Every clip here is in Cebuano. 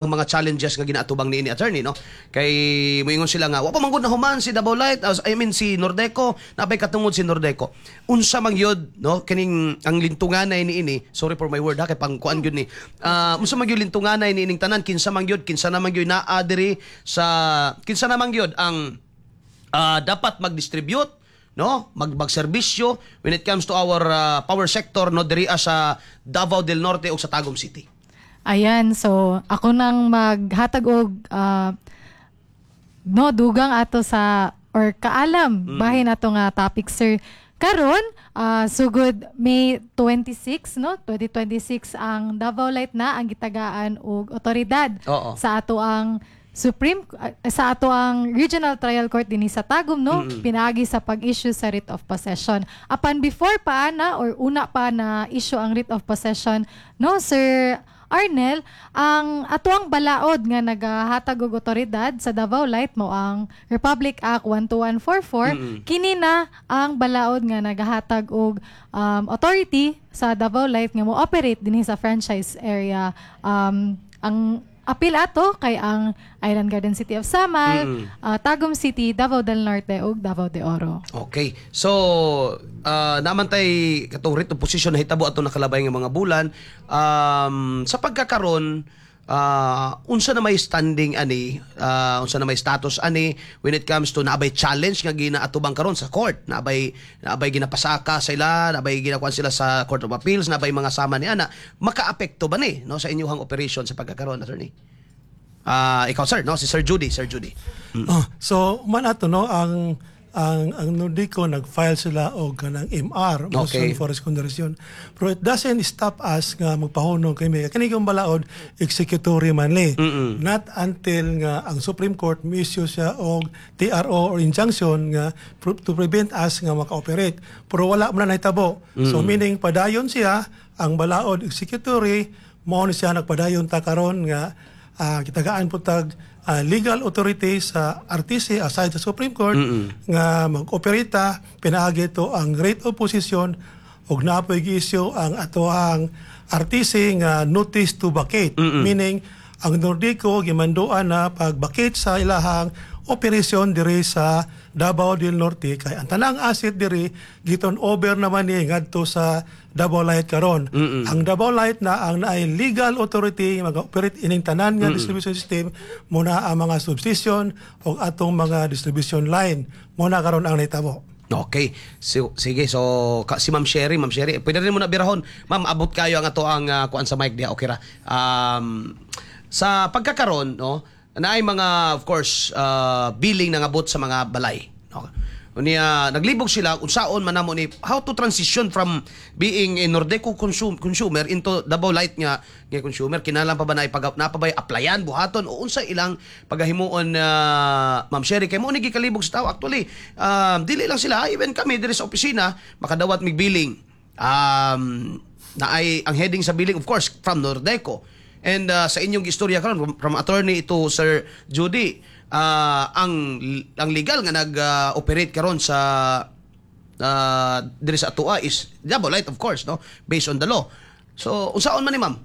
Mga challenges nga ginaatubang niini, attorney, no? Kay moingon sila nga wa pa man gud nahuman si Davao Light, I mean si Nordeco, nabay katungod si Nordeco. Unsa man gyud, no, kining ang lintunganay niini? Sorry for my word ha, kay pangkuan gyud ni. Unsa man gyud lintunganay niining tanan? Kinsa man gyud, kinsa naman gyud naa diri sa, kinsa naman gyud ang dapat mag-distribute, no, magserbisyo when it comes to our power sector, no, diri sa Davao del Norte ug sa Tagum City? Ayan, so ako nang maghatag og no, dugang ato sa or kaalam bahin ato nga topic, sir. Karon, sugod May 26, no, 2026, ang Davao Light na ang gitagaan og otoridad sa ato ang Supreme sa ato ang Regional Trial Court dinhi sa Tagum, no, pinaagi sa pag-issue sa writ of possession. Apan before pa na or una pa na issue ang writ of possession, no, Sir Arnel, ang atuang balaod nga nagahatag og otoridad sa Davao Light mo ang Republic Act 12144. Kini na ang balaod nga nagahatag og authority sa Davao Light nga mo operate dinhi sa franchise area. Ang apil ato kay ang Island Garden City of Samal, Tagum City, Davao del Norte ug Davao de Oro. Okay. So, namantay katong writ of possession na hitabo ato nakalabay nga mga bulan. Sa pagkakaron, unsa na may standing ani, unsa na may status ani when it comes to naabay challenge nga ginaatubang karon sa court, naabay ginapasaka sila, naabay ginakuan sila sa Court of Appeals, naabay mga sama ni ana, makaapekto ba ni, no, sa inyong operation sa pagkakaron, attorney? Ikaw, sir, no, si Sir Judy, Sir Judy. Oh, so man ato, no, ang Nordeco nag-file sila og kanang MR, motion for reconsideration. Pero it doesn't stop us nga magpahunong kami. Kani kung balaod, executory man ni. Not until nga ang Supreme Court mi-issue siya og TRO or injunction nga to prevent us nga maka-operate. Pero wala man na nahitabo. So meaning padayon siya ang balaod, executory, mao ni siya nagpadayon ta karon nga gitagaan po tag legal authority sa RTC aside sa Supreme Court nga mag-operate pinaagi to ang writ of possession ug naa poy gi-issue ang atoang RTC nga notice to vacate, meaning ang Nordeco gimanduan na pag-vacate sa ilahang operation diri sa Davao del Norte kay ang tanang asset diri gi-turn over naman ni ngadto sa Davao Light karon. Ang Davao Light na ang naay legal authority mag-operate ining tanan nga distribution system, muna ang mga substation o atong mga distribution line. Muna karon ang nahitabo. Okay. So, sige, so si Ma'am Sherry, Ma'am Sherry, pwede rin mo na birahon. Ma'am, abot kayo ang ato ang kuan sa mic diha, okay ra. Sa pagkakaron, no, naay mga, of course, billing na ngabot sa mga balay, no? Unya naglibog sila unsaon man namo ni, how to transition from being a Nordeco consumer into Davao Light nga consumer. Kinahanglan pa ba na ipag na pa ba applyan buhaton o unsa ilang pagahimuon, Ma'am Sherry, kay mo ni gikalibog sa tao actually? Dili lang sila, even kami diri sa opisina, makadawat mig billing, na ay ang heading sa billing, of course, from Nordeco. And sa inyong istorya karon from attorney to Sir Judy, ang legal nga nag-operate karon sa diri sa atoa is Davao Light, of course, no, based on the law. So unsaon man ni, ma'am?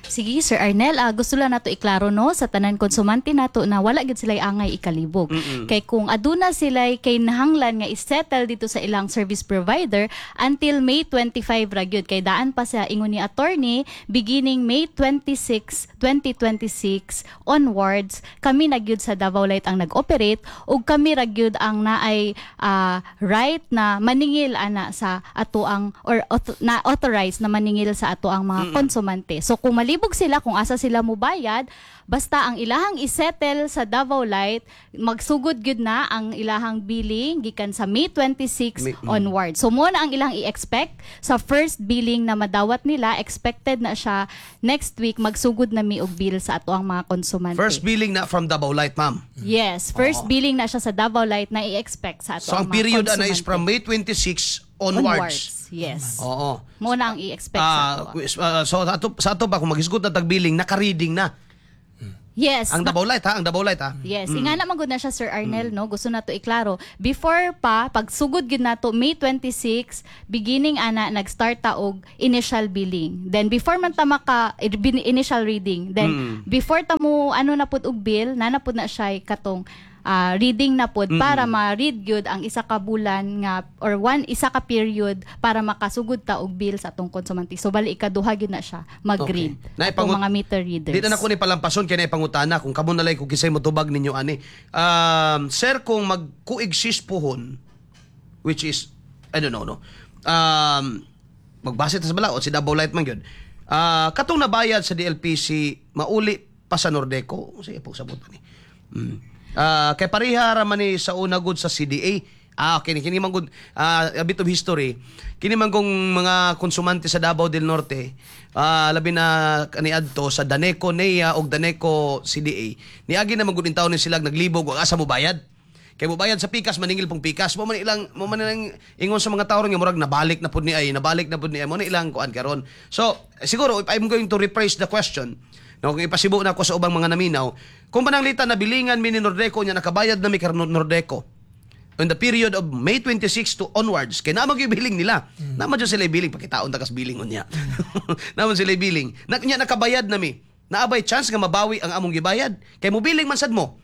Sige, Sir Arnel, gusto lang nato iklaro, no, sa tanan konsumante nato na wala gid sila angay ikalibog. Kay kung aduna sila kay nahanglan nga isettle dito sa ilang service provider, until May 25 ra gyud, kay daan pa sa ingon ni attorney, beginning May 26, 2026 onwards, kami na gyud sa Davao Light ang nag-operate ug kami ra gyud ang naay right na maningil ana sa ato ang or na authorized na maningil sa ato ang mga konsumante. So kung malibog sila kung asa sila mubayad, basta ang ilahang isettle sa Davao Light, magsugod gyud na ang ilahang billing gikan sa May 26 onward. So mo na ang ilang i-expect sa first billing na madawat nila, expected na siya next week, magsugod na mi og bill sa ato ang mga konsumante. First billing na from Davao Light, ma'am? Yes, first billing na siya sa Davao Light na i-expect sa ato So ang ang mga period ana is konsumante. From May 26 onwards. Yes. Oo. Mo na ang i-expect sa ato. So sa ato ba, kung maghisgot na tag billing, naka-reading na? Yes. Ang Davao Light ha, ang Davao Light ha. Yes, ingana man gud na siya, Sir Arnel, no. Gusto nato iklaro. Before pa pagsugod gyud nato May 26, beginning ana nag-start ta og initial billing. Then before man ta maka initial reading, then before ta mo ano na pud og bill, na na pud na siya katong reading na pud para ma-read gyud ang isa ka bulan nga or one isa ka period para makasugod ta og bill sa atong konsumante. So bali ikaduha gyud na siya mag-read Okay. atong mga meter readers. Di na nako ni palampason kay naipangutana kung kamo nalay kung kisay motubag ninyo ani. Sir, kung mag-coexist pohon, which is I don't know, no. Magbase ta sa balaod si Davao Light man gyud. Katong nabayad sa DLPC mauli pa sa Nordeco. Sige po sabot ni. Kay pareha ra man ni sa una gud sa CDA. Okay, kini man gud a bit of history. Kini man kung mga konsumante sa Davao del Norte, labi na kaniadto sa Daneco NEA og Daneco CDA. Niagi na man gud intawon ni sila naglibog og asa mo bayad. Kay mo bayad sa pikas, maningil pong pikas. Mo man ilang ingon sa mga tao ron nga murag nabalik na pud ni ay, nabalik na pud ni ay mo na ilang kuan karon. So, siguro if I'm going to rephrase the question, no, kung ipasibo na ako sa ubang mga naminaw, kung pananglitan na bilingan mi ni Nordeco nya nakabayad na mi kay Nordeco in the period of May 26 to onwards, kay naa man gyud billing nila. Mm. Naa man sila billing, pakitaon ta kas billing unya. Naa man sila billing. Na, nya nakabayad na mi. Naa bay chance nga mabawi ang among gibayad? Kay mobiling man sad mo.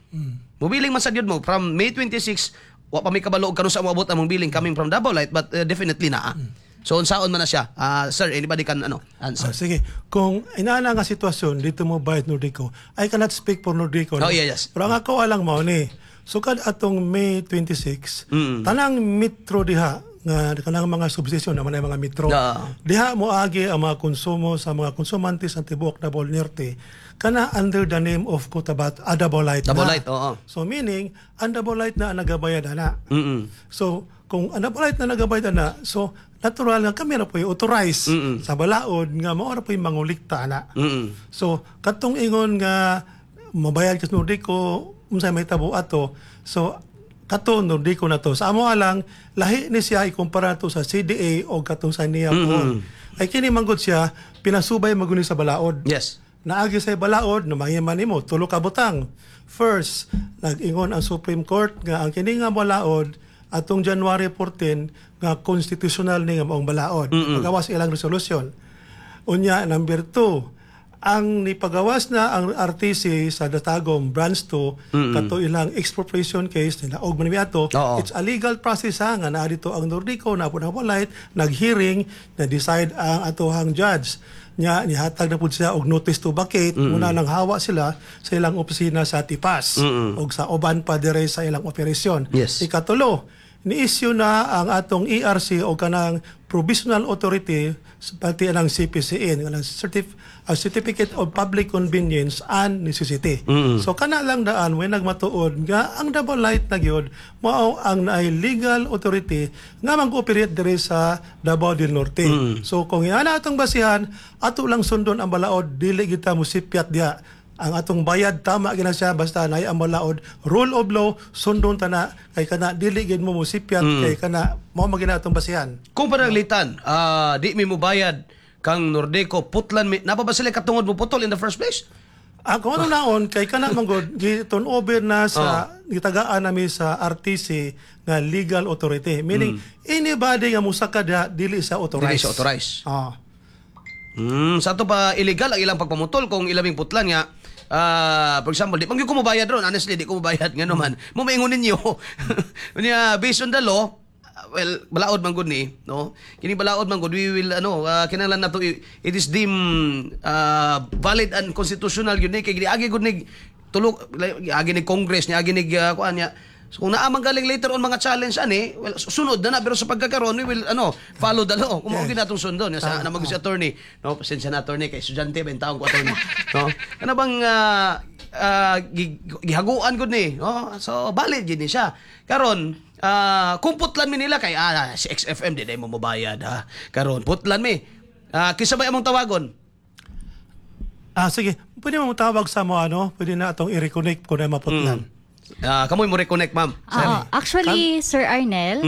Mobiling man sad yun mo from May 26, wa pa mi kabalo og kanus-a moabot among billing coming from Davao Light, but definitely naa. So unsaon man na siya? Sir, anybody can ano answer? Ah, sige. Kung inaana nga sitwasyon dito mo bayad Nordeco, I cannot speak for Nordeco, no? Oh, yeah, yes. Pero ang ako alang mao ni, sukad atong May 26, tanang metro diha nga kanang mga substation naman ay mga metro. Diha mo agi ang mga konsumo sa mga konsumante sa tibuok Davao Norte kana under the name of Cotabato, Davao Light Davao na. Light, oo. So meaning, ang Davao Light na ang nagabayad ana. So kung ang Davao Light na nagabayad ana, so natural nga kami ra po'y authorize sa balaod nga mao ra po'y mangulikta ana. So katong ingon nga mabayad ka sa Nordeco, unsay may tabo ato. So kato Nordeco na to. Sa amo lang lahi ni siya ikumpara to sa CDA o katong sa NEA mm. Ay kini manggod siya pinasubay maguni sa balaod. Naagi sa balaod, numangiman nimo tulo ka butang. First, nag-ingon ang Supreme Court nga ang kini nga balaod atong January 14 nga constitutional ni nga maong balaod. Pagawas ilang resolution. Unya, number 2, ang nipagawas na ang RTC sa Tagum Branch 2 kato ilang expropriation case nila og man ato. It's a legal process ha, nga naa dito ang Nordeco na po na Light, nag-hearing na decide ang atohang judge nya nihatag na pud siya og notice to vacate. Muna nang hawa sila sa ilang opisina sa Tipas og sa uban pa dire sa ilang operasyon. Ikatulo, ni-issue na ang atong ERC o kanang provisional authority pati ang CPCN kanang Certificate of Public Convenience and Necessity. So kana lang daan way nagmatuod nga ang Davao Light na gyud mao ang naay legal authority nga mag-operate diri sa Davao del Norte. So kung ana atong basihan, ato lang sundon ang balaod, dili kita mosipyat diha. Ang atong bayad tama gina siya basta naay ang balaod, rule of law, sundon ta na kay kana dili gid mo mosipyat kay kana mao man gina atong basihan. Kung pananglitan, di mi mobayad kang Nordeco, putlan mi, naa pa ba sila katungod mo putol in the first place? Ang kung ano naon kay kana manggod gi-turn over na sa gitagaan nami sa RTC nga legal authority, meaning anybody nga musaka diha dili sa authorized. Dili sa authorized. Ah. Sa ato pa illegal ang ilang pagpamutol kung ilaming putlan nga for example, di man gyud ko mobayad ron, honestly di ko mobayad ngano man. Mo maingon ninyo. Unya based on the law, well, balaod man gud ni, no? Kini balaod man gud, we will ano, kinahanglan nato it is deemed valid and constitutional gyud ni kay giagi gud ni tulog giagi ni Congress, niagi ni kuan niya. So kung naa man galing later on mga challenge ani, well, sunod na na pero sa pagkakaroon we will ano, follow the law. Kung mao gyud natong sundon sa na mag si attorney, no, pasensya na attorney kay estudyante ba taong ko attorney, no? Kana bang gihaguan gud ni, no? So valid gid ni siya. Karon kung putlan mi nila kay si XFM di day mo mobayad ha. Karon putlan mi. Kinsa ba among tawagon? Ah, sige, pwede mo tawag sa mo ano, pwede na atong i-reconnect kung na maputlan. Kamoy mo reconnect, ma'am. Oo. Actually, Sir Arnel,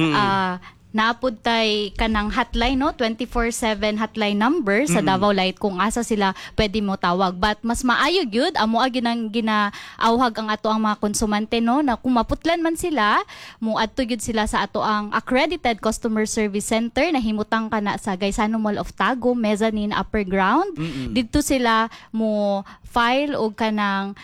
Naa pod tay kanang hotline, no, 24/7 hotline number sa Davao Light kung asa sila pwede mo tawag. But mas maayo gyud, amo gyud ang ginaawhag ang ato ang mga konsumante, no, na kung maputlan man sila, mo adto gyud sila sa ato ang accredited customer service center na himutang kana sa Gaisano Mall of Tagum, mezzanine upper ground. Didto sila mo file og kanang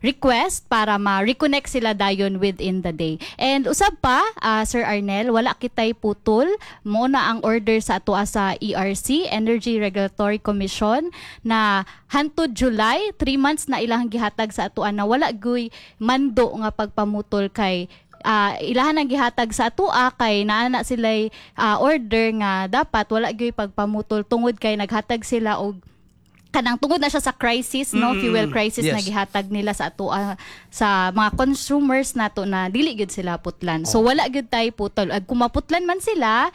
request para ma-reconnect sila dayon within the day. And usab pa, Sir Arnel, wala kitay putol. Mo na ang order sa ato sa ERC, Energy Regulatory Commission, na hantod July, 3 months na ilang gihatag sa atoa na wala guy mando nga pagpamutol kay ilahan ang gihatag sa atoa kay naa na sila'y order nga dapat wala gyud pagpamutol tungod kay naghatag sila og kanang tungod na siya sa crisis, no, fuel crisis na gihatag nila sa atoa sa mga consumers nato na dili gyud sila putlan. So wala gyud tay putol. Ag kung maputlan man sila,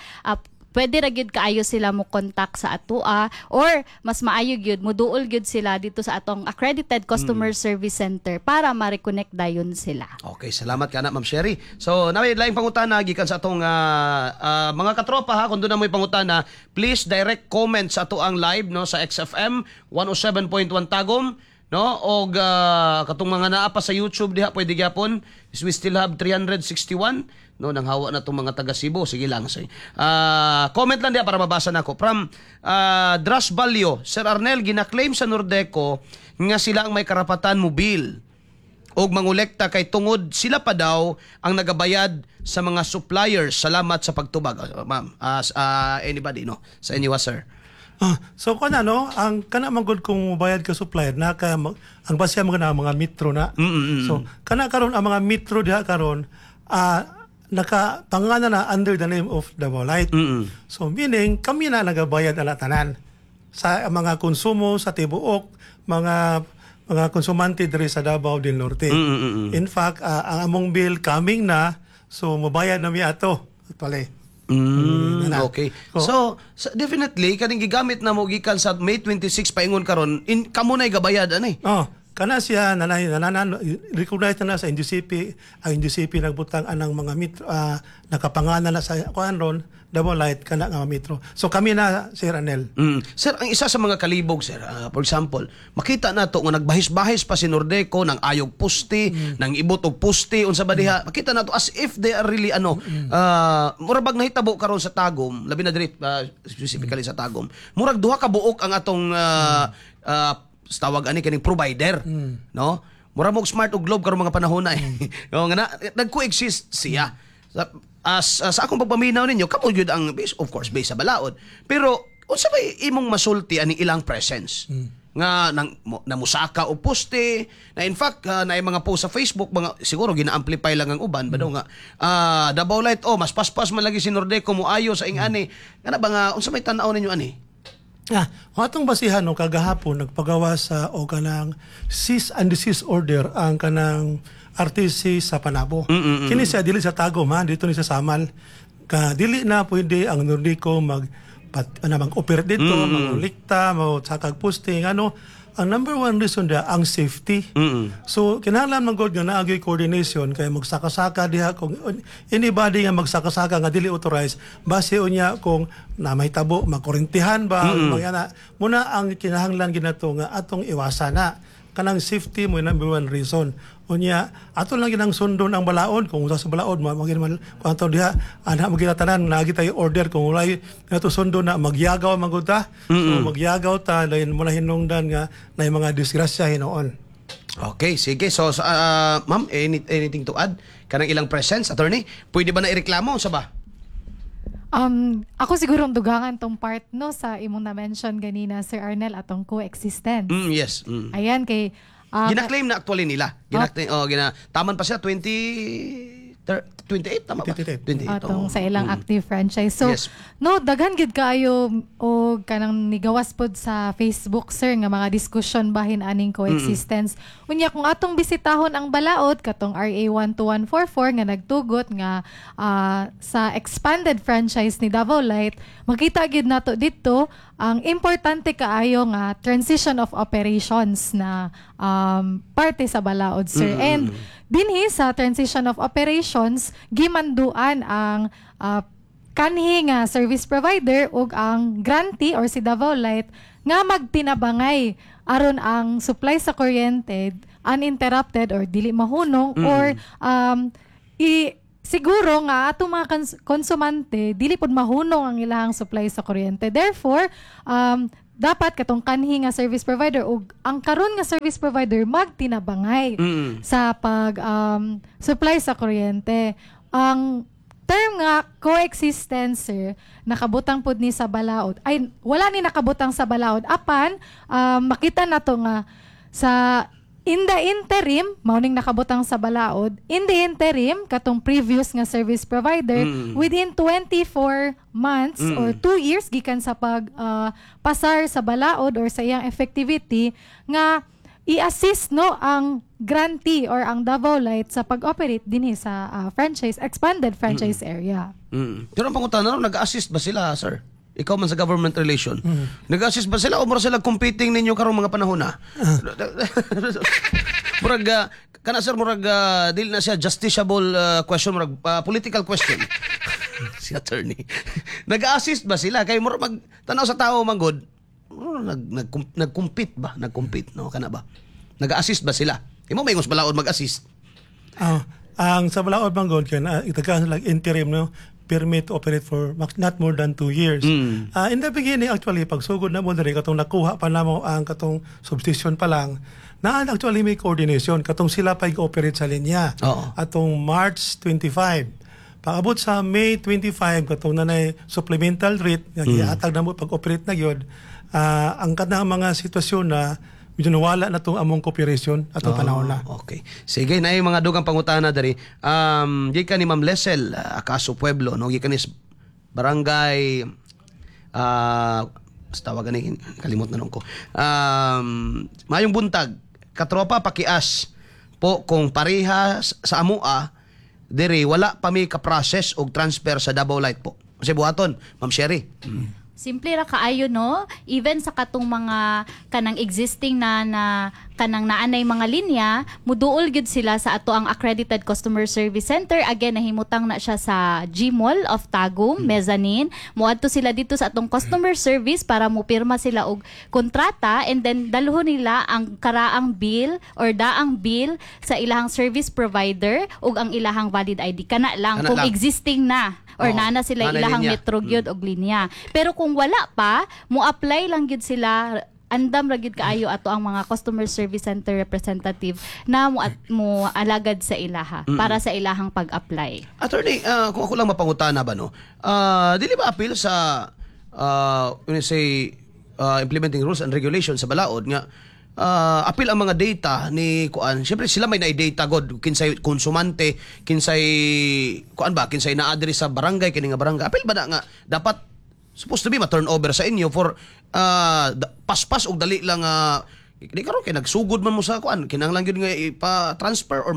pwede ra gyud kaayo sila mo contact sa atoa or mas maayo gyud muduol gyud sila dito sa atong accredited customer service center para ma-reconnect dayon sila. Okay, salamat ka na, Ma'am Sherry. So, naa may laing pangutana gikan sa atong mga katropa ha, kung doon na mo'y pangutana, please direct comment sa ato ang live, no, sa XFM 107.1 Tagum, no, og katong mga naa pa sa YouTube diha, pwede gyapon. We still have 361, no, nang hawa na tong mga taga Cebu. Sige lang, sige. Comment lang diha para mabasa nako. From Dras Balyo: "Sir Arnel, gina-claim sa Nordeco nga sila ang may karapatan mo bill og mangolekta kay tungod sila pa daw ang nagabayad sa mga suppliers. Salamat sa pagtubag." Ma'am, anybody, no, sa inyo, sir. Ah, so kana, no, ang kana man gud kung mobayad ka supplier na ka ang base mo kana mga metro na. So kana karon ang mga metro diha karon naka pangalan na under the name of Davao Light. So meaning kami na nagabayad ala tanan sa mga konsumo sa tibuok mga konsumante diri sa Davao del Norte. In fact, ang among bill coming na, so mobayad na mi ato. Actually. Na. So, definitely kaning gigamit na mo gikan sa May 26 paingon karon in kamo nay gabayad ani. Oh, kana siya nanay nananan recognize na, na sa NGCP, ang NGCP nagbutang anang mga metro nakapangalan na sa kuan ron Davao Light kana nga metro. So kami na, Sir Anel. Sir, ang isa sa mga kalibog, sir, for example, makita nato nga nagbahis-bahis pa si Nordeco ng ayog puste, ng ibot og puste, unsa ba diha. Makita nato as if they are really ano, mura bag nahitabo karon sa Tagum, labi na diri specifically sa Tagum. Murag duha ka buok ang atong tawag ani kaning provider, no? Mura mo Smart ug Globe karon mga panahon na eh. No, nga na, nag-coexist siya. Sa akong pagpaminaw ninyo, kamo gyud ang base, of course, base sa balaod. Pero unsa bay imong masulti ani ilang presence? Nga nang namusaka og poste na in fact na mga post sa Facebook, mga siguro gina-amplify lang ang uban ba daw nga Davao Light, oh, mas paspas man lagi si Nordeco mo ayo sa ingani kana ba, nga unsa may tan-aw ninyo ani? Ah, ang atong basihan, no, kagahapon nagpagawa sa o kanang cease and desist order ang kanang RTC sa Panabo. Kini siya dili sa Tagum ha, dito ni sa Samal. Ka dili na pwede ang Nordeco mag pat, ano, mag-operate dito, mangolekta, mo sakag posting, ano. Ang number one reason da ang safety. So kinahanglan man gud nga naa gyud coordination kay magsaka-saka diha kung anybody nga magsaka-saka nga dili authorized, base unya kung na mahitabo makurintihan ba mm ana muna ang kinahanglan ginato nga atong iwasan na kanang safety mo number one reason. Unya ato lang ginang sundon ang balaod kung usa sa balaod ma magin man kung ato diha ana magina tanan naagi tayo order kung walay nato sundon na magyagaw man gud ta. So magyagaw ta dayon mo na hinungdan nga na mga disgrasya hinuon. Okay, sige. So, ma'am, anything to add? Kanang ilang presence, attorney? Pwede ba na ireklamo sa ba? Ako siguro ang dugangan tong part, no, sa imong na-mention ganina, Sir Arnel, atong coexistence. Yes. Ayan kay Gina-claim na actually nila. Gina-claim, oh, taman pa siya 20 28, tama ba? 28. 28. Atong oh. sa ilang active franchise. So, no, daghan gid kaayo og kanang nigawas pod sa Facebook, sir, nga mga discussion bahin aning coexistence. Unya kung atong bisitahon ang balaod katong RA 12144 nga nagtugot nga sa expanded franchise ni Davao Light, makita gid nato dito ang importante kaayo nga transition of operations na parte sa balaod, sir. And dinhi sa transition of operations Gimanduan ang kanhi nga service provider ug ang grantee or si Davao Light nga magtinabangay aron ang supply sa kuryente uninterrupted or dili mahunong or i siguro nga atong mga konsumante dili pud mahunong ang ilahang supply sa kuryente. Therefore, dapat katong kanhi nga service provider ug ang karon nga service provider magtinabangay sa pag supply sa kuryente. Ang term nga coexistence, sir, nakabutang pud ni sa balaod. Ay, wala ni nakabutang sa balaod apan makita nato nga sa in the interim, mao ning nakabutang sa balaod, in the interim, katong previous nga service provider, within 24 months or 2 years gikan sa pag pasar sa balaod or sa iyang effectivity nga i-assist, no, ang grantee or ang Davao Light sa pag-operate dinhi sa franchise expanded franchise area. Pero ang pangutana, nag-assist ba sila, sir? Ikaw man sa government relation. Nag-assist ba sila o mura sila competing ninyo karong mga panahon na? Murag kana, sir, murag dili na siya justiciable question, murag political question. Si attorney. Nag-assist ba sila kay murag mag tanaw sa tao man gud? Murag nag nag nag-compete ba? Nag-compete, no, kana ba? Nag-assist ba sila? Imo may balaod mag-assist. Ah, ang sa balaod man gud kay na itagaan sila interim, no, permit to operate for not more than 2 years. Ah, in the beginning, actually, pagsugod na mo diri, katong nakuha pa namo ang katong substation pa lang na, actually may coordination katong sila pa operate sa linya. Atong March 25. Pag-abot sa May 25, katong nanay supplemental rate nga giatag na mo pag-operate na gyud, ang kanang mga sitwasyon na medyo nawala na tong among cooperation atong panahon na. Okay. Sige, na yung mga dugang pangutana diri. Gikan ni Ma'am Lesel, Acaso Pueblo, no, gikan ni barangay basta tawagan ni, kalimot na nung ko. Mayong buntag, katropa, pakias po kung pareha sa amua diri, wala pa mi ka-process og transfer sa Davao Light po. Kasi buhaton, Ma'am Sherry. Simple ra kaayo, no? Even sa katong mga kanang existing na na kanang naanay mga linya, muduol gyud sila sa ato ang accredited customer service center. Again, nahimutang na siya sa Gmall of Tagum, mezzanine. Muadto sila dito sa atong customer service para mupirma sila og kontrata and then dalhon nila ang karaang bill or daang bill sa ilahang service provider ug ang ilahang valid ID. Kana lang Kana kung lang. Existing na or naa na sila naa na ilahang linya. metro gyud og linya. Pero kung wala pa, mo apply lang gyud sila. Andam ra gyud kaayo ato ang mga customer service center representative na mo alagad sa ilaha para sa ilahang pag-apply. Attorney, kung ako lang mapangutana ba, no? Dili ba appeal sa when you say implementing rules and regulations sa balaod nga appeal ang mga data ni kuan? Syempre sila may na data god, kinsay konsumante, kinsay kuan ba, kinsay naa diri sa barangay, kini nga barangay. Appeal ba na nga dapat supposed to be ma-turn over sa inyo for paspas og dali lang, di karon kay nagsugod man mo sa kuan, kinahanglan gyud nga ipa-transfer or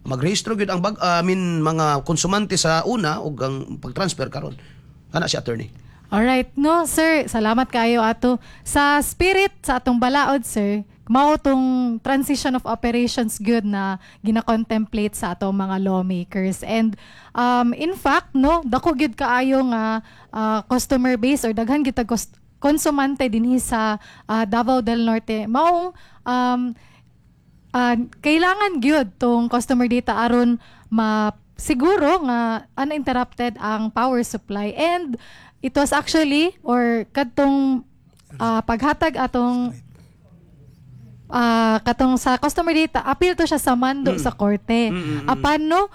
magrehistro gyud ang bag, I mean, mga konsumante sa una ug ang pag-transfer karon? Kana si attorney. Alright, no, sir, salamat kayo ato sa spirit sa atong balaod, sir. Mao tong transition of operations good na gina-contemplate sa atong mga lawmakers. And in fact, no, dako gyud kaayo nga customer base or daghan gyud tag konsumante dinhi sa Davao del Norte. Maong kailangan gyud tong customer data aron ma siguro nga uninterrupted ang power supply. And it was actually or kadtong paghatag atong katong sa customer data, appeal to siya sa mando sa korte. Apan, no,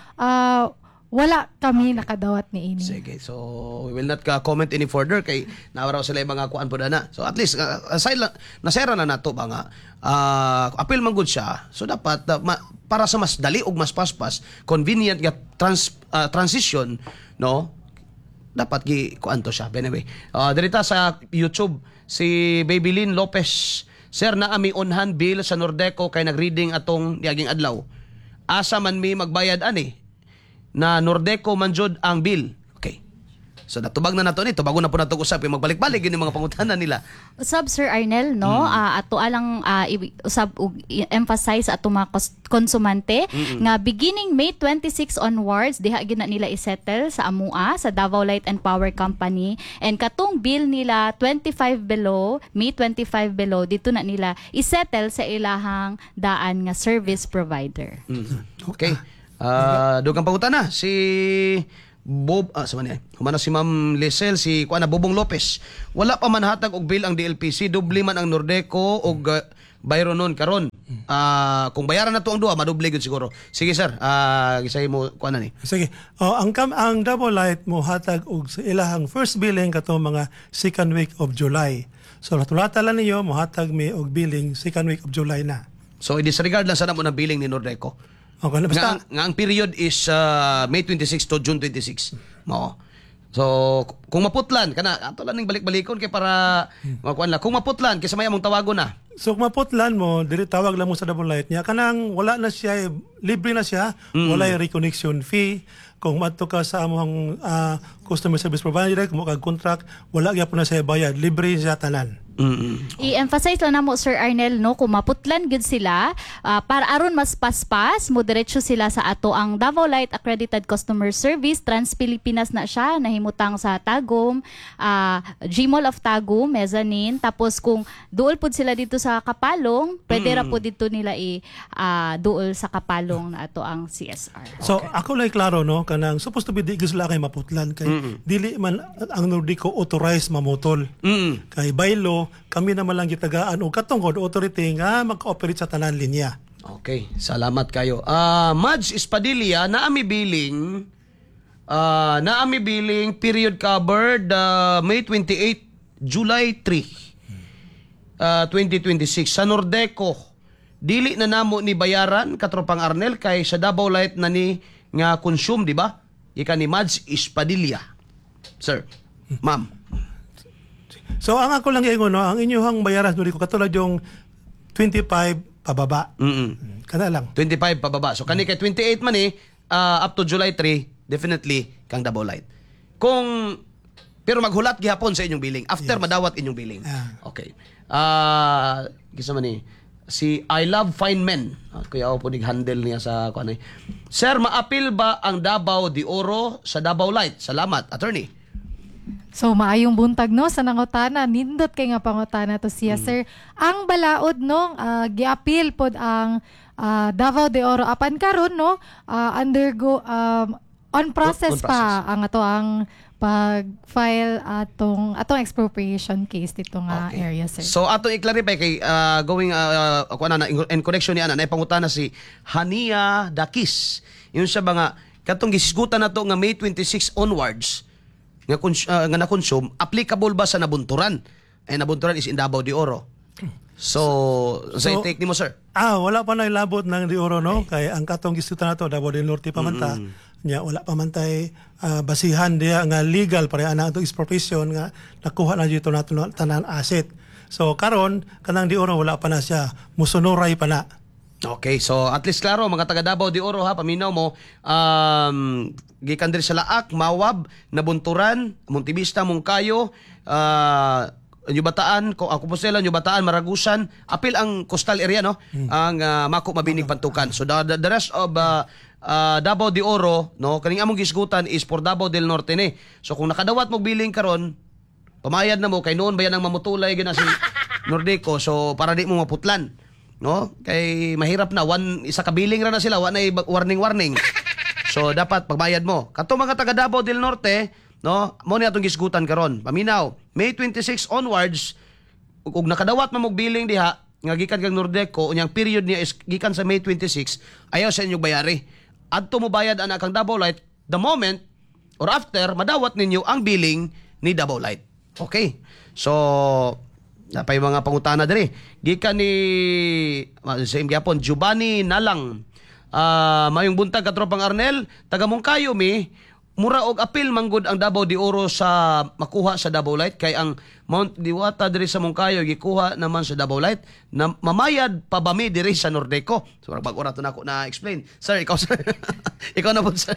wala kami nakadawat ni ini. Sige, so we will not ka comment any further kay nawara sila yung mga kuan po na. So at least aside lang nasera na nato ba nga appeal man gud siya. So dapat para sa mas dali ug mas paspas, convenient nga transition, no, dapat gi kuan to siya. But anyway, dirita sa YouTube, si Babylin Lopez. "Sir, naa mi on hand bill sa Nordeco kay nagreading atong niaging adlaw. Asa man mi magbayad ani na Nordeco man jud ang bill?" Okay. So natubag na nato ni, tubagon na po nato usap kay magbalik-balik yun yung mga pangutana nila. Usab, Sir Arnel, no, ato alang usab og emphasize ato mga konsumante nga beginning May 26 onwards diha gyud na nila isettle sa amua sa Davao Light and Power Company, and katong bill nila 25 below, May 25 below, dito na nila isettle sa ilahang daan nga service provider. Okay. Dugang pangutana si Bob, sa man niya. Humana si Ma'am Lisel, si kuan na Bobong Lopez. Wala pa man hatag og bill ang DLPC, doble man ang Nordeco og Byron nun karon. Kung bayaran na to ang duha, madoble gyud siguro. Sige, sir, gisay mo kuan na ni. Sige. Oh, ang Davao Light mo hatag og sa ilahang first billing katong mga second week of July. So tulata lang ninyo, mohatag mi og billing second week of July na. So i-disregard lang sana mo ng billing ni Nordeco. Okay, na basta Nga ang period is May 26 to June 26. Oo. So, kung maputlan kana ato lang ning balik-balikon kay para makuan lang. Kung maputlan kaysa may among tawagon na. So kung maputlan mo, diri tawag lang mo sa Davao Light niya. Kanang wala na siya, libre na siya, walay reconnection fee. Kung madto ka sa among customer service provider, kung kag contract, wala gyapon na siya bayad, libre siya tanan. I-emphasize lang namo, Sir Arnel, no, kung maputlan gyud sila, para aron mas paspas mo diretso sila sa ato ang Davao Light Accredited Customer Service Trans Pilipinas na siya nahimutang sa Tagum, Gmall of Tagum mezzanine. Tapos kung duol pud sila dito sa Kapalong, pwede ra pud dito nila i duol sa Kapalong na ato ang CSR. So ako lang klaro, no, kanang supposed to be di gyud sila kay maputlan kay dili man ang Nordeco authorized mamutol. Kay by law kami naman lang gitagaan og katungod authority nga mag-operate sa tanan linya. Okay, salamat kayo. Mads Espadilla, naami billing period covered May 28, July 3, 2026 sa Nordeco. Dili na namo ni bayaran, katropang Arnel, kay sa Davao Light na ni nga consume, di ba? Ika ni Mads Espadilla. Sir, ma'am. So ang ako lang ingon, no, ang inyong bayaran sa Nordeco katulad yung 25 pababa. Kana lang. 25 pababa. So kani kay 28 man eh, up to July 3, definitely kang Davao Light. Kung pero maghulat gihapon sa inyong billing after madawat inyong billing. Okay. Kisa man ni si I Love Fine Men. Kuya ako po nig handle niya sa kuan eh. Sir, maapil ba ang Davao de Oro sa Davao Light? Salamat, attorney. So maayong buntag, no, sa nangutana, nindot kay nga pangutana to siya, sir. Ang balaod, no, giapil pod ang Davao de Oro apan karon, no, undergo on process On pa process. Ang ato ang pag-file atong expropriation case dito nga area, sir. So atong i-clarify kay going kuan na in connection ni ana na pangutana si Hania Dakis. Yun siya ba nga katong gisgutan nato nga May 26 onwards nga na-consume, applicable ba sa Nabunturan? Eh Nabunturan is in Davao de Oro. So, sa So, take nimo, sir? Wala pa na ilabot ng de Oro, no, kay ang katong gisgutan nato Davao del Norte pa man ta. Nya wala pa man tay basihan diya nga legal para ana atong expropriation nga nakuha na dito nato na tanan asset. So karon kanang de Oro wala pa na siya, musunuray pa na. Okay, so at least klaro mga taga Davao de Oro ha, paminaw mo, gikan diri sa Laak, Mawab, Nabunturan, Montevista, Monkayo, New Bataan, ko Compostela, New Bataan, Maragusan, apil ang coastal area, no, ang Maco, Mabinig, Pantukan. So the rest of Davao de Oro, no, kaning among gisgutan is for Davao del Norte ni. So kung nakadawat mo billing karon, pamayad na mo kay noon ba yan ang mamutulay gina si Nordeco, so para di mo maputlan. No? Kay mahirap na one isa ka billing ra na sila, wa na warning warning. So dapat pagbayad mo. Kato mga taga Davao del Norte, no, mo ni atong gisgutan karon. Paminaw, May 26 onwards ug nakadawat man mo billing diha nga gikan kang Nordeco, unyang period niya is gikan sa May 26, ayaw sa inyong bayari. Adto mo bayad ana kang Davao Light the moment or after madawat ninyo ang billing ni Davao Light. Okay. So, napay mga pangutana diri. Gikan ni same gyapon Giovanni Nalang. Mayong buntag, katropang Arnel, taga Monkayo mi, Mura og apil manggod ang Davao de Oro sa makuha sa Davao Light kay ang Mount Diwata diri sa Moncayo gikuha naman sa Davao Light na mamayad pa ba mi diri sa Nordeco? So bag ora to nako na explain. Sir, ikaw, sir. Ikaw na po, sir.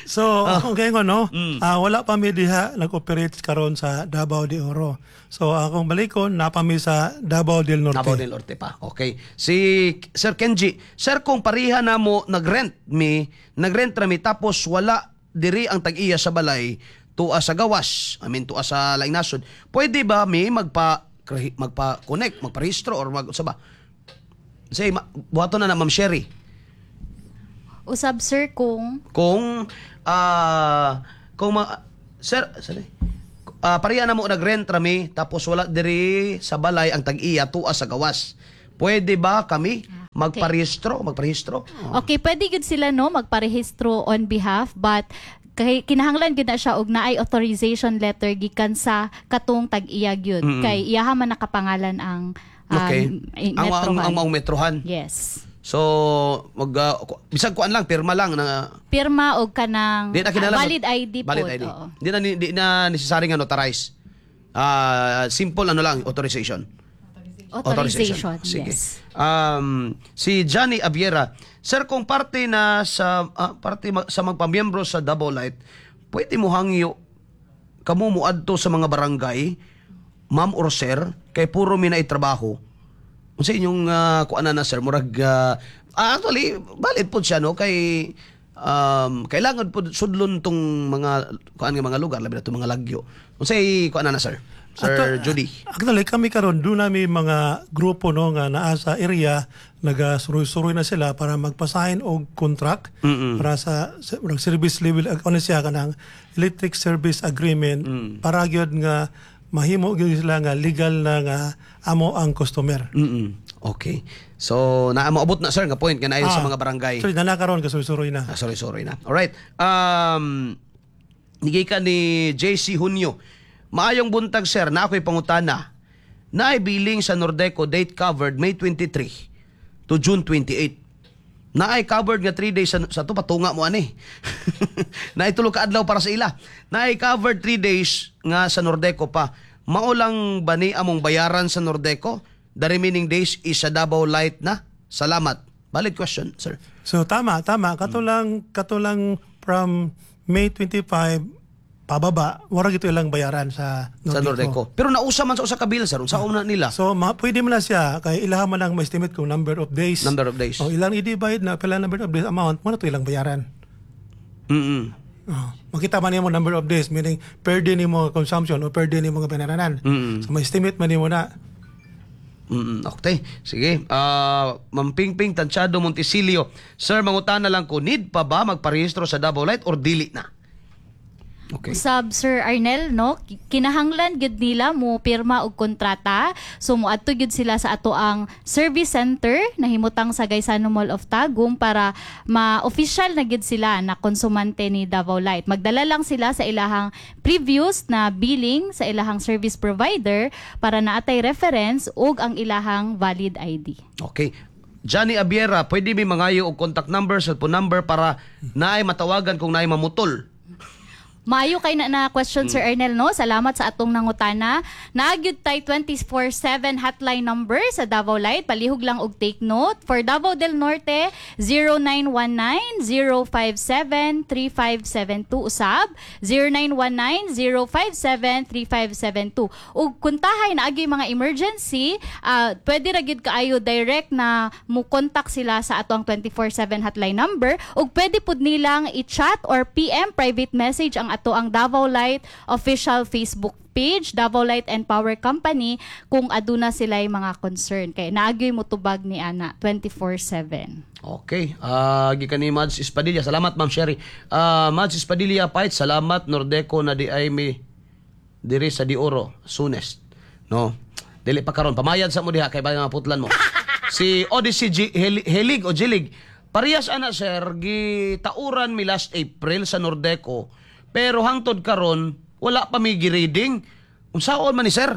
So, akong kaya no, wala pa mi diha nag-operate karon sa Davao de Oro. So, akong balikon, naa pa mi sa Davao del Norte. Davao del Norte pa. Okay. Si Sir Kenji, sir, kung pariha na mo nagrent mi, nagrent ra mi tapos wala diri ang tag-iya sa balay tuwa sa gawas, I mean tuwa sa laing nasod, pwede ba mi magpa connect, magparehistro or mag sa ba? Say buhaton na na, Ma'am Sherry. Usab, sir, kung Kung sir, sorry. Pareha na mo nagrent ra mi tapos wala diri sa balay ang tag-iya tuwa sa gawas. Pwede ba kami magparehistro, magparehistro? Okay, pwede gud sila, no, magparehistro on behalf, but kay kinahanglan gud na siya og naay authorization letter gikan sa katong tag-iya gyud kay iyaha man nakapangalan ang Ang metrohan. Ang maong metrohan. Yes. So mag bisag kuan lang, pirma lang na Pirma og kanang di na kinahanglan valid ID valid pod. ID. Oo. Di na necessary nga notarize. Simple ano lang, authorization. Authorization. Sige. Yes. Si Johnny Aviera, sir, kung parte na sa parte sa magpamiyembro sa Davao Light, pwede mo hangyo kamo moadto sa mga barangay, ma'am or sir, kay puro mi na trabaho. Unsa inyong kuan na, sir, murag actually valid pod siya, no, kay kailangan pod sudlon tong mga kuan nga mga lugar, labi na tong mga lagyo. Unsay kuan na, sir? Sir Judy. Actually, kami karon doon nami mga grupo, no, nga naa sa area, nagasuroy-suroy na sila para magpa-sign og contract para sa murag service level ano siya, kanang electric service agreement, para gyud nga mahimo gyud sila nga legal na nga amo ang customer. Okay. So, naa moabot na, sir, nga point nga naayon sa mga barangay. Sorry, na karon kasuroy na. Ah, sorry, sorry na. Alright. Nigay ka ni JC Junio. "Maayong buntag, sir, na ako'y pangutana. Naay billing sa Nordeco date covered May 23 to June 28. Naay covered nga 3 days sa to patunga mo ani. Naay tulo ka adlaw para sa ila. Naay covered 3 days nga sa Nordeco pa. Mao lang ba ni among bayaran sa Nordeco? The remaining days is sa Davao Light na. Salamat." Valid question, sir. So tama, tama. Kato lang from May 25 pababa, wala gito ilang bayaran sa Nordeco. Sa Nordeco. Pero nausa man sa usa ka bill, sir. Unsa na nila? So pwede mo na siya kay ilaha man ang ma-estimate kung number of days. Number of days. O ilang i-divide na pila number of days amount mo na to ilang bayaran. Oh, makita man nimo number of days, meaning per day nimo consumption o per day nimo nga binaranan. So ma-estimate man nimo na. Okay. Sige. Ma'am Pingping Tanchado Montesilio. "Sir, mangutana lang ko, need pa ba magparehistro sa Davao Light or dili na?" Okay. Usab, Sir Arnel, no, kinahanglan gyud nila mo pirma og kontrata. So moadto gyud sila sa ato ang service center nahimutang sa Gaisano Mall of Tagum para ma-official na gyud sila na konsumante ni Davao Light. Magdala lang sila sa ilahang previous na billing sa ilahang service provider para naatay reference ug ang ilahang valid ID. Okay. Johnny Abiera, "Pwede mi mangayo og contact number, cellphone number para naay matawagan kung naay mamutol?" Maayo kay na question, Sir Arnel, no. Salamat sa atong nangutana. Naa gyud tay 24/7 hotline number sa Davao Light. Palihog lang og take note. For Davao del Norte, 0919-057-3572 usab. 0919-057-3572. Ug kuntahay naagi mga emergency, pwede ra gyud kaayo direct na mo contact sila sa atong 24/7 hotline number ug pwede pud nilang i-chat or PM, private message, ang ato ang Davao Light official Facebook page, Davao Light and Power Company, kung aduna sila mga concern kay naagyoy motubag ni ana 24/7. Okay. Gikan ni Mads Espadilla. Salamat, Ma'am Sherry. Mads Espadilla Pait, salamat Nordeco na di ay mi diri sa Dioro soonest. No. Dili pa karon. Pamayad sa mo diha kay ba putlan mo. Si Odyssey G- Helig o Jilig. "Parehas ana, sir, gitauran mi last April sa Nordeco pero hangtod karon wala pa mi gi-reading. Unsaon man ni, sir?"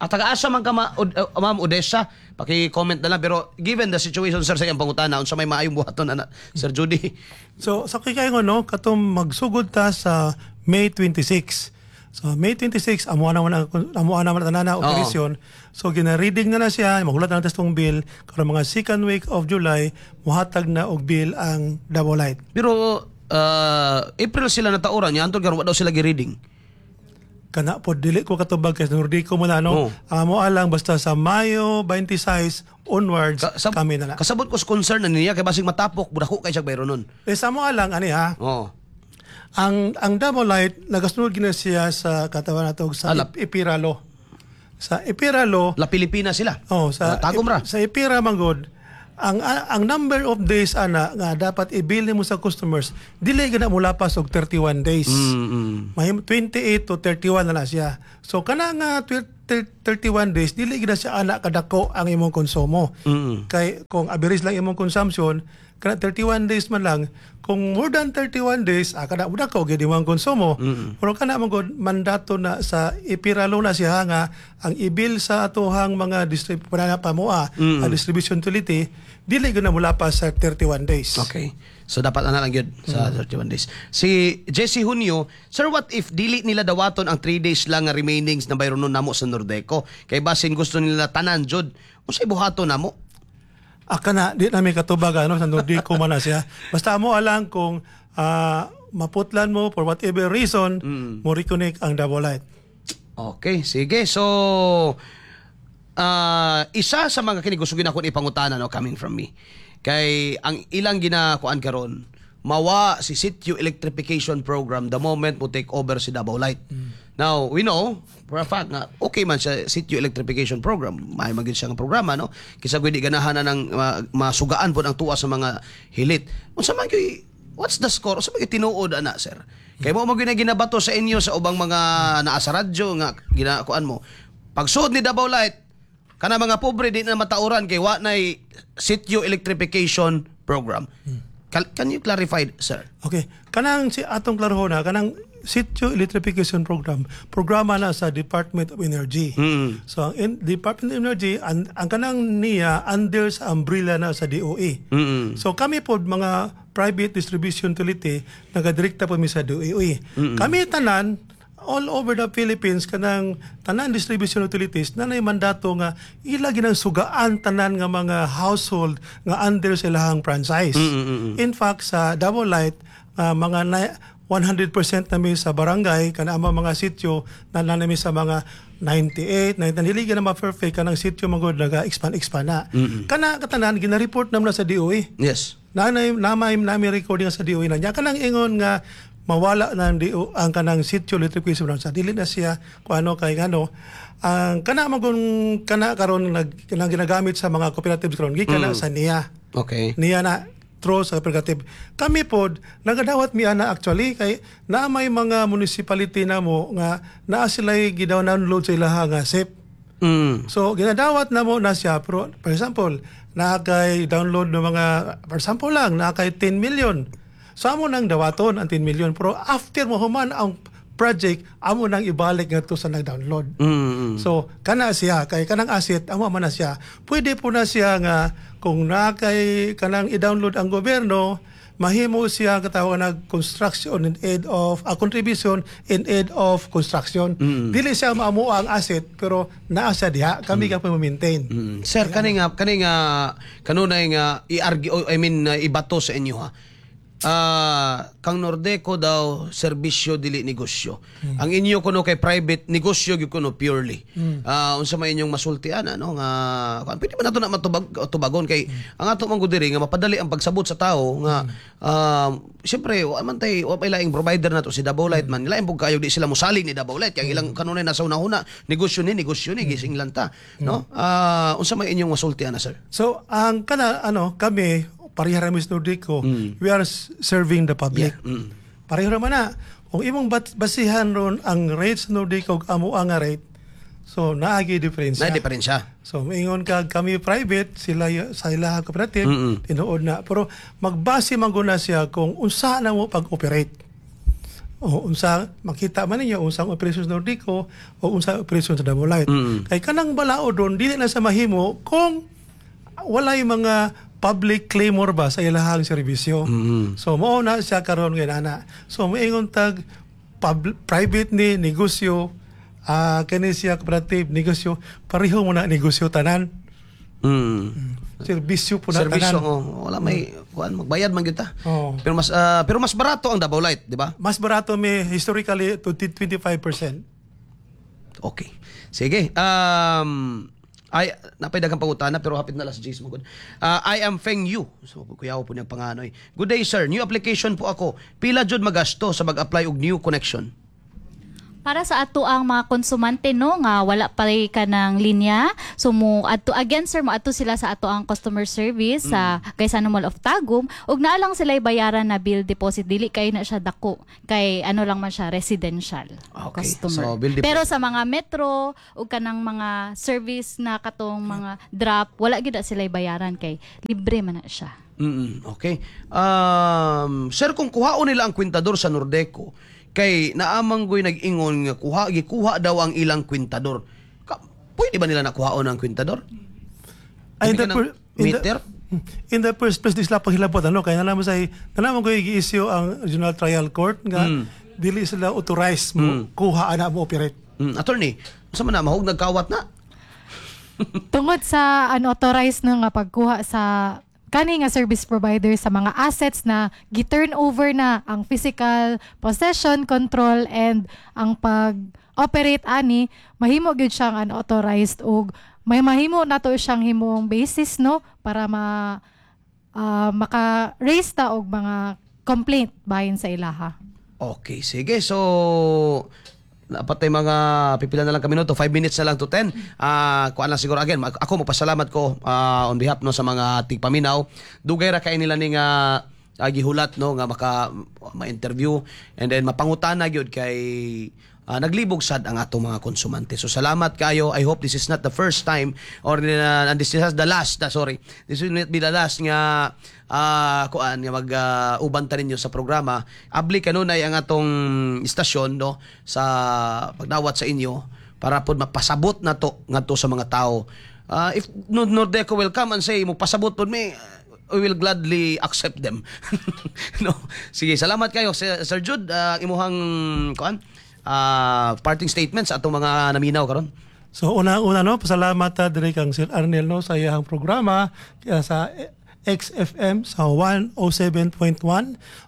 At taga-asa man ka, Ma'am Odessa? Paki-comment na lang, pero given the situation, sir, sa iyang pangutana, unsa may maayong buhaton ana, Sir Judy? So sa kay no, katong magsugod ta sa May 26. So May 26, amo na man tanan na operasyon. So gina-reading na na siya, magulat na testong bill karon mga second week of July muhatag na og bill ang Davao Light. Pero April sila natauran niya, antod karon wa daw sila gi-reading. Kana po dili ko katubag kay Nordico mo na, no. Oo. Amo alang basta sa Mayo 26 onwards kami na na. Kasabot ko sa concern na niya kay basig matapok budako kay siya bayro nun. Eh, sa amo alang ani ha. Ang Davao Light nagasunod gina siya sa katawan nato sa EPIRA law. Sa EPIRA law, La Pilipina sila. Oh, sa Tagum ra. Sa EPIRA manggod, ang number of days ana nga dapat i-bill mo sa customers dili gana mo lapas og 31 days. May 28 to 31 na na siya. So kana nga 31 days, dili gina siya ana kadako ang imong konsumo. Kay kung average lang imong consumption kana 31 days man lang, kung more than 31 days, kada mo dako gyud imong konsumo. Pero kana man gud, mandato na sa EPIRA law na siya nga ang i-bill sa atohang mga distrib pa moa ang distribution utility dili gyud na mulapas sa 31 days. Okay. So dapat ana lang gyud sa 31 days. Si Jesse Junio, "Sir, what if dili nila dawaton ang 3 days lang nga remainings na bayronon namo sa Nordeco? Kay basin gusto nila tanan jud. Unsay buhaton namo?" Aka na, di namin katubag ano, sa Nordico man na siya. Basta mo alang kung maputlan mo for whatever reason, mo reconnect ang Davao Light. Okay, sige. So, isa sa mga kini gusto gina akong ipangutana, no, coming from me. Kay ang ilang ginakuan karon, mawa si Sitio Electrification Program the moment mo take over si Davao Light. Now, we know for a fact nga okay man sa Sitio Electrification Program. May magid siya nga programa, no? Kisa di ganahan na ng masugaan po ang tuwa sa mga hilit. Unsa man gyud, what's the score? Unsa man gyud tinuod ana, sir? Kay mo mo gyud na ginabato sa inyo sa ubang mga naa sa radyo nga ginakuan mo. Pagsuod ni Davao Light, kana mga pobre di na matauran kay wa nay Sitio Electrification Program. Can you clarify, sir? Okay. Kanang si atong klarohon na, kanang Sitio Electrification Program, programa na sa Department of Energy. So ang Department of Energy, ang kanang niya under sa umbrella na sa DOE. So kami po mga private distribution utility, nagadirekta po mi sa DOE. Kami tanan all over the Philippines, kanang tanan distribution utilities na nay mandato nga ila ginang sugaan tanan nga mga household nga under sa ilahang franchise. In fact, sa Davao Light, mga 100% nami sa barangay, kana ang mga sityo na nami sa mga 98, 90, dili na ma-perfect kanang sityo magod naga-expand expand na. Kana katanan gina-report naman na sa DOE. Nanay namay nami recording sa DOE na niya kanang ingon nga mawala na ang DO ang kanang sitio electrification sa dili na siya kung ano, kay ngano ang kana magun kana karon nag kanang ginagamit sa mga cooperatives karon gikan na sa niya. Niya na through sa cooperative. Kami pod nagadawat mi ana actually kay naa may mga municipality namo nga naa sila'y gidownload sa ilaha nga SIP. So ginadawat na mo na siya, pero for example, naa kay download ng mga, for example lang, naa kay 10 million. So amo nang dawaton ang 10 million, pero after mo human ang project, amo nang ibalik ngadto sa nag-download. So kana siya kay kanang asset amo man na siya. Pwede po na siya nga kung naa kay kanang i-download ang gobyerno, mahimo siya katawag na construction in aid of a contribution in aid of construction. Dili siya maamo ang asset, pero naa siya diha, kami ka pa maintain. Sir, kani nga kanunay nga i-argue, I mean, ibato sa inyo ha. Kang Nordeco daw serbisyo, dili negosyo. Ang inyo kuno kay private negosyo gyud kuno purely. Unsa may inyong masultian ano nga kuan, pwede ba nato na matubag tubagon kay ang ato man gud diri nga mapadali ang pagsabot sa tao nga siyempre wa man tay wa pay laing provider nato si Davao Light man, lain pud kayo di sila mosalig ni Davao Light kay ang ilang kanunay nasa una-una negosyo ni gising lang ta, no? Unsa may inyong masultian na, sir? So ang kana ano, kami pareha ra mis Nordico, we are serving the public. Pareha ra man na. Kung imong basihan ron ang rates Nordico ug amo ang rate, so naagi diferensya. Na diferensya. So maingon ka kami private, sila sa ila cooperative, tinuod na. Pero magbase man gud na siya kung unsa na mo pag-operate. O unsa makita man ninyo unsang operations Nordeco o unsa operations sa Davao Light. Kay kanang balaod doon dili na sa mahimo kung walay mga public claimor ba sa ilahang serbisyo. So mao na siya karon ngayon ana. So moingon tag private ni negosyo, kani siya cooperative negosyo, pareho mo na negosyo tanan. Serbisyo po na Serbisyo tanan. Oh, wala may kuan, magbayad man gyud ta. Oo. Pero mas barato ang Davao Light, di ba? Mas barato may historically to 25%. Okay. Sige. Ay, napay daghang pangutana pero hapit na last 10 mo gud. I am Feng Yu. So kuyaw po niyang panganoy. Good day, sir. New application po ako. Pila jud magasto sa mag-apply og new connection? Para sa ato ang mga konsumante, no, nga wala pa ka ng linya, so mo adto again, sir, mo adto sila sa ato ang customer service sa Gaisano Mall of Tagum ug naa lang sila bayaran na bill deposit. Dili kay na siya dako kay ano lang man siya, residential customer. So, bill deposit. Pero sa mga metro ug kanang mga service na katong mga drop, wala gid na sila bayaran kay libre man na siya. Okay. Sir, kung kuhaon nila ang kwintador sa Nordeco, kay naamang goy nag-ingon nga kuha gikuha daw ang ilang kwintador. Pwede ba nila nakuhaon ang kwintador? Ay, in Hindi the, ka ng meter? In the first place, di sila paghilabot ano, kaya nalaman sa nalaman ko gi-issue ang Regional Trial Court nga dili sila authorized mo kuha ana mo operate. Attorney, unsa man na mahog nagkawat na? Tungod sa unauthorized na nga pagkuha sa kani nga service provider sa mga assets na gi-turn over na ang physical possession, control and ang pag-operate ani, mahimo gyud siyang unauthorized ug may mahimo nato siyang himong basis, no, para ma maka-raise ta og mga complaint bahin sa ilaha. Okay, sige. So, dapat ay mga pipila na lang kami minuto, 5 minutes na lang to 10. Kuan lang siguro again, ako magpasalamat ko on behalf, no, sa mga tigpaminaw. Dugay ra kay nila ni nga gihulat, no, nga maka ma-interview and then mapangutana gyud kay naglibog sad ang atong mga konsumante. So salamat kayo. I hope this is not the first time or and this is the last, sorry. This will not be the last nga kuan nga mag uban ta ninyo sa programa. Abli kanunay ang atong istasyon, no, sa pagdawat sa inyo para pod mapasabot na to ngadto sa mga tao. If Nordeco will come and say mo pasabot pod mi, we will gladly accept them. No. Sige, salamat kayo Sir Jude, imuhang kuan parting statements sa atong mga naminaw karon. So una-una, no, pasalamat ta diri kang Sir Arnel, no, sa iyang programa kaya sa XFM sa 107.1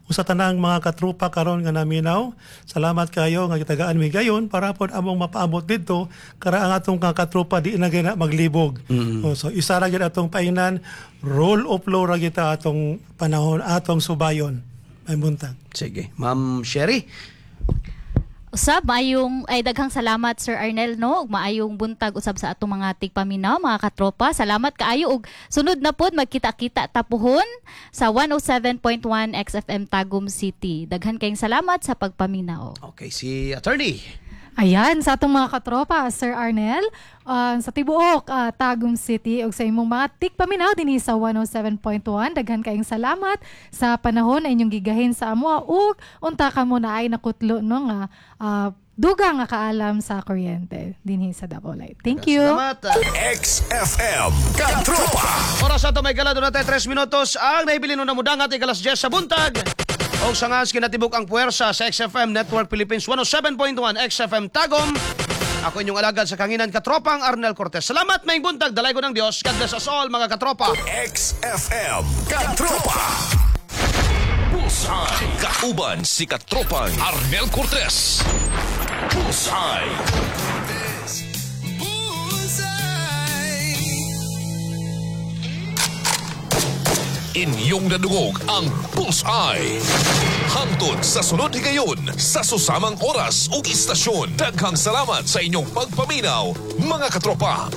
ug sa tanang mga katropa karon nga naminaw. Salamat kayo nga gitagaan mi gayon para pod among mapaabot didto kara ang atong mga katropa di na gyud na maglibog. Oh, so isa ra gyud atong paingnan, rule of law ra kita atong panahon atong subayon. May buntag. Sige, Ma'am Sherry. Usab, maayong ay daghang salamat, Sir Arnel, no, ug maayong buntag usab sa atong mga tigpaminaw, mga katropa. Salamat kaayo ug sunod na pod magkita-kita ta puhon sa 107.1 XFM Tagum City. Daghan kayong salamat sa pagpaminaw. Okay, si Attorney. Ayan, sa atong mga katropa, Sir Arnel, sa tibuok Tagum City ug sa imong mga tigpaminaw dinhi sa 107.1, daghan kayong salamat sa panahon na inyong gigahin sa amo ug unta kamo na ay nakutlo, no, nga dugang nga kaalam sa kuryente dinhi sa Davao Light. Thank you. Salamat. XFM Katropa. Oras ato may gala doon natin 3 minutos ang nahibilin na mudangat ikalas 10 sa buntag. O sa ngas kinatibuk ang puwersa sa XFM Network Philippines 107.1 XFM Tagum. Ako inyong alagad sa kanginan, katropang Arnel Cortez. Salamat, may buntag, dalaygon ng Diyos. God bless us all, mga katropa. XFM Katropa. Bullseye. Kauban si Katropang Arnel Cortez. Bullseye. Bullseye. Inyong nadungog ang Bullseye. Hangtod sa sunod higayon sa susamang oras ug istasyon. Daghang salamat sa inyong pagpaminaw, mga katropa.